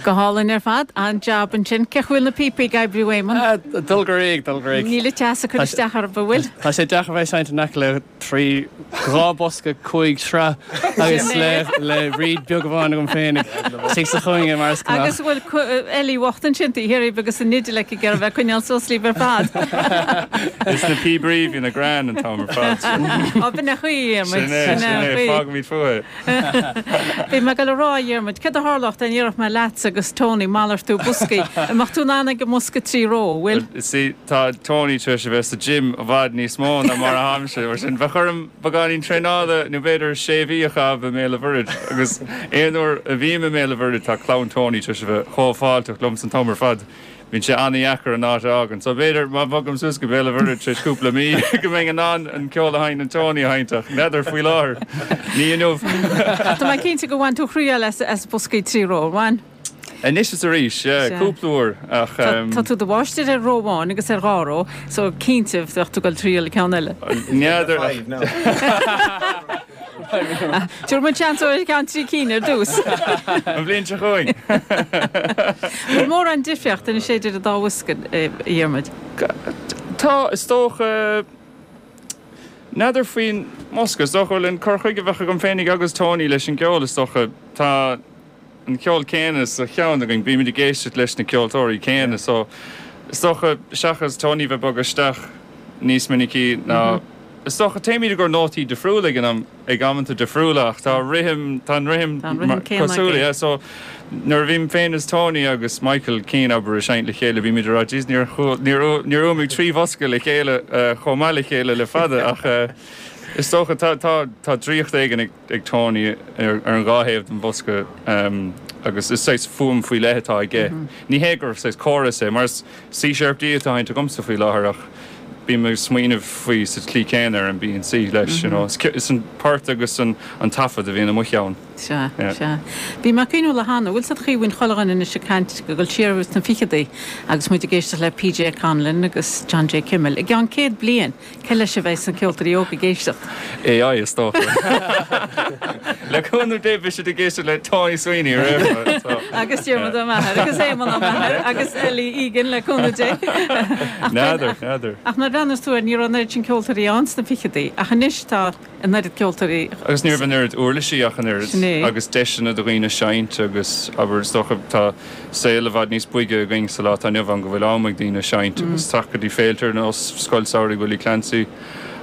Go hálainn ar fad. An-jab ansin. Cén chaoi a bhfuil na píopaí ag oibriú, Éamonn? Ag dul go réidh, dul go réidh. Níl an teas ag cur isteach orthu, an bhfuil? Tá sé deacair bheith ag seinnt in aice le 3, 2 bosca, 5 sraith agus le le reed beag amháin agam féin istigh sa chúinne mar is gnách. Agus an bhfuil Ellie bhocht ansin taobh thiar díbh agus an fhidil aici ag iarraidh bheith ag coinneáil suas libh ar fad. Is na píobairí, bhí na grean an t-am ar fad. Á, b'in é an chaoi, a Dhiarmuid. Sin é, sin é, fágaimid fúthu é. Bhí mé ag dul a rá, a Dhiarmuid, céard a tharlódh dá ndéarfadh mé leatsa agus Tony malartú boscaí? An mbeadh tú in ann ag an mbosca 3 ró, an bhfuil? See, tá Tony tar éis a bheith sa gym i bhfad níos mó ná mar atáimse, mar sin bheadh orm beagáinín traenála nó b'fhéidir sé mhí a chaitheamh i mBéal an Mhuirthead agus aon uair a bhím i mBéal an Mhuirthead tá clann Tony tar éis a bheith chomh fáilteach liomsa an t-am ar fad. Bíonn sé an-dheacair an áit a fhágaint. So b'fhéidir má bhogaim suas go Béal an Mhuirthead tar éis cúpla mí go mbeinn in ann an ceol a sheinneann Tony a sheinnt ach n'fheadar faoi láthair. Ní inniu. Tá mé cinnte gur bhain tú thriail as as boscaí 3 ró, ar bhain? Anois is arís, yeah, cúpla uair ach. Tá tú i do mháistir ar ró amháin agus ar dhá ró, so cinnte bheadh tú ag dul triail ceann eile. N'fheadar ach. Tabharfaidh muid seans ar cheann 3 cinn ar dtús. An bhliain seo chugainn. Bhfuil mórán difríocht anois idir an dá bhosca, a Dhiarmuid? Tá, is dócha. N'fheadar faoin mbosca. Is dócha, bhuel, an cur chuige a bheadh agam féinig agus Tony leis an gceol, is dócha, tá an ceol céanna sa cheann againn, bímid ag éisteacht leis na ceoltóirí céanna so is dócha, seachas Tony bheith ag bogadh isteach níos minicí ná, is dócha, téimid i gcomhair nótaí difriúla ag an am, ag amanta difriúla ach tá rithim, tá an rithim cosúil, yeah, so nuair a bhím féin is Tony agus Michael Keane, abair, ag seinnt le chéile bímid ag rá jeez níor níor níor fhuaimigh 3 bhosca le chéile chomh maith le chéile le fada ach is dócha tá tá tá draíocht éigin ag ag Tony ar an dhá thaobh den bhosca agus is saghas fuaim faoi leith atá aige. Ní hé gur saghas córas é, mar is C sharp D atá á sheinnt agamsa faoi láthair ach bím ag smaoineamh faoi sa tslí chéanna ar an B and C leis, you know. Is an port agus an taifead a bhíonn i mo cheann. Sea, sea. Bhí mé ag cuimhniú le hAnna, bhfuil 's a'd chaoi bhíonn chuile dhuine anois ag caint ag dul siar sna ficheadaí agus muid ag éisteacht le PJ Conlon agus John J. Kimmel. I gceann 100 bliain, Cé leis a bheidh na ceoltóirí óga ag éisteacht? AI, is dócha. Le cúnamh Dé beidh siad ag éisteacht le Tony Sweeney ar aon chor, so. Agus Diarmuid Ó Meachair agus Éamonn Ó Meachair agus Ellie Egan, le cúnamh Dé. N'fheadar, n'fheadar. Ach nuair a bhreathnaíos tú air, ní raibh an oiread sin ceoltóirí ann sna ficheadaí, ach anois tá an oiread ceoltóirí. Agus ní raibh an oiread uirlisí ach an oiread, agus deiseanna do dhaoine seinnt agus, abair, is dócha, tá. saol i bhfad níos boige againn sa lá atá inniu ann go bhfuil am ag daoine seinnt agus teacht go dtí féilte ar nós Scoil Samhraidh Willie Clancy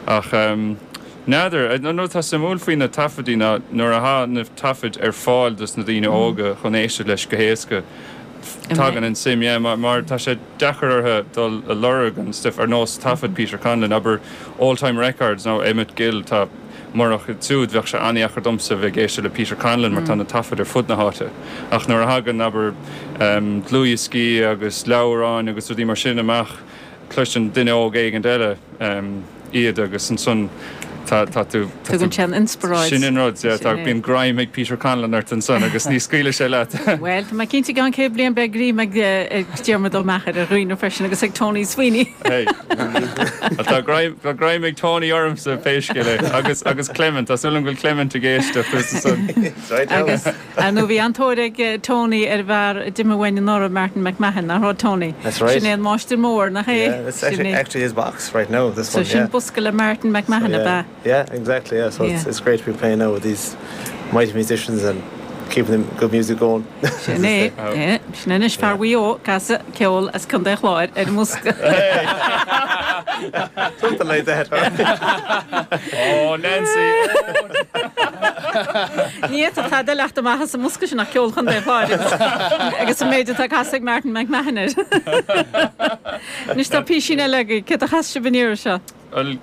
ach n'fheadar. An rud atá suimiúil faoi na taifeadaí ná nuair atá na taifid ar fáil dos na daoine óga chun éisteacht leis go héasca tagann an suim yeah mar tá sé deacair orthu dul a lorg an stuif ar nós taifead Peter Conlon abair Old Time Records nó Emmett Gill tá Murach iad siúd, bheadh sé an-dheacair domsa a bheith ag éisteacht le Peter Conlon mar tá na taifid ar fud na háite. Ach nuair a thagann, abair, dlúthdhioscaí agus leabhráin agus rudaí mar sin amach, cloiseann duine óg éigint eile iad agus ansan tá, tá tú, tá tú, Tugann sé an inspioráid. Sin an rud, yeah, tá, bíonn greim ag Peter Conlon ort ansan agus ní scaoilfidh sé leat. Bhuel, tá mé cinnte i gceann 100 bliain beidh greim ag Diarmuid Ó Meachair ar dhaoine freisin agus ag Tony Sweeney. Hey. Tá greim, tá greim ag Tony ormsa pé scéal é. Agus, agus Clement, tá súil agam go bhfuil Clement ag éisteacht ansan. Agus, ar ndóigh, bhí an-tóir ag Tony ar an bhfear a d'imigh uainn anuraidh, Martin McMahon, nach raibh, Tony? That's right. Sin é an máistir mór, nach é? Yeah, that's actually, actually his box right now, this one, yeah. So sin bosca le Martin McMahon, ab ea? Yeah, exactly, yeah. So it's, it's great to be playing now with these mighty musicians and keeping the good music going. Sin é, yeah. Sin anois fear Mhaigh Eo ag casadh ceol as Contae an Chláir ar an mbosca. Something like that. Oh, Nancy! Ní fhéadfadh tada a theacht amach as an mbosca sin ach ceol Chontae an Chláir agus an méid atá casadh ag Martin McMahon air. Anois tá písín eile agaibh. Céard a chas sibh an iarraidh seo? Bhuel,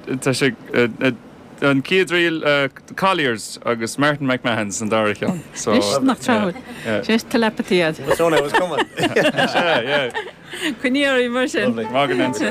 tá sé, an chéad ríl, Colliers agus Martin McMahon's an dara ceann. So, Anois, nach tráthúil. Yeah. Sin telepathy iad. Must know it was coming. Sea, yeah. Coinnigh oraibh mar sin. Lovely. Maith agat, Nancy.